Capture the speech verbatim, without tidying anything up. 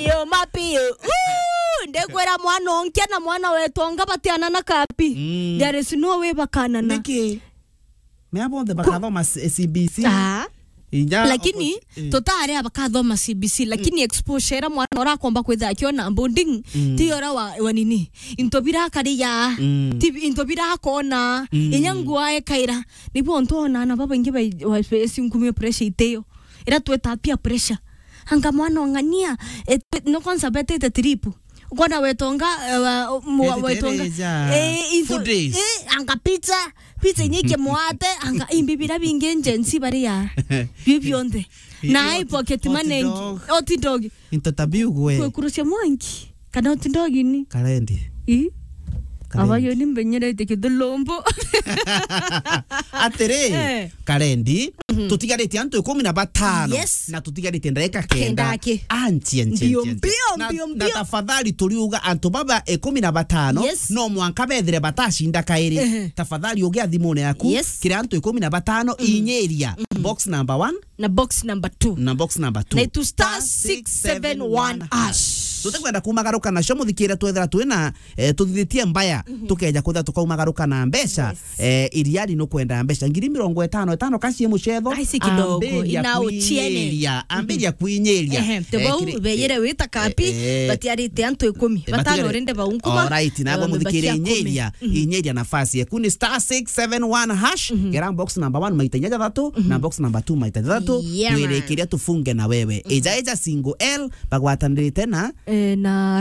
Yo, mapi yo. Uu, ndekwira mwana onkia na mwana wetonga batiana na kapi. Mm. There is no way bakanana. Niki? Mea bonthe bakathoma C-, C B C. Ah. Inya lakini oppo-, eh. Tutari abakathoma C B C, lakini exposure ira mwana urakomba kwitha akiona boarding, mm, ti ora wa, wa nini? Into bira kariya, mm, ti into bira akona, mm, inya nguo aekaira. Nibo ntu ona ana babaingi bai-, wa-, esi nkumio pressure iteyo. Ira tweta peer pressure. Anga mwana ong'ania, eh, no kwanza betete trip. Ukona wetonga, eh, wa-, mu-, etete wetonga. Reja. Eh, into, food days. Eh, anga pizza, pizza inyike mwate, anga imbi bira bingi Gen Z baria. Bi bionthe. Na ai pocket money. Hot dog. Hot dog. Into tabiu gwe. Kwe kurucia mwanki. Kana hot dog ni? Karendi. I? Karendi. Abayo ni mbenyerete kithulumbu. Atiri, eh, karendi, mhm, tutigarite antu ikumi na batano. Yes. Na tutigarite ndagika kenda. Kenda aki. Anchi, anchi, mbio, anchi, anchi. Mbio, na, mbio, na mbio. Tafadhali turiuga antu baba ikumi na batano, yes, no mwanka bethire batacinda kairi. Ehe. Tafadhali ugia thimune yaku. Yes. Kiri antu ikumi na batano, mhm, inyiria. Mhm. Box number one. Na box number two. Na box number two. Na itu star six seven one hash. Tutikwenda kumagaruka nacio muthikire twethira twina, eh, tuthithitie mbaya, mhm, tukeja kwithira tukaumagaruka na mbeca. Yes. Eh, iriari nukwenda mbeca ngiri mirongo itano, itano kaci mucetho. Ai, si kidogo, ambiria ina uchiene. Kwinyiria, ambiria, mhm, kwinyiria. Ehe, te eh, bau kiri-, beyere wita kapi, eh, eh, batiarite antu ikumi. Eh, batano batigarite rende bau nkuma. Alright, nagwa eh, muthikire batia kumi. Inyiria, mhm, inyiria nafasi yaku ni star six seven one hash, mhm, gera box number one maita inya jathatu, mhm, na box number two maita jathatu. Yeah, man. Wirikiria tufunge na wewe. Mhm. Ija, ija single L, bagwatanirite na eh, na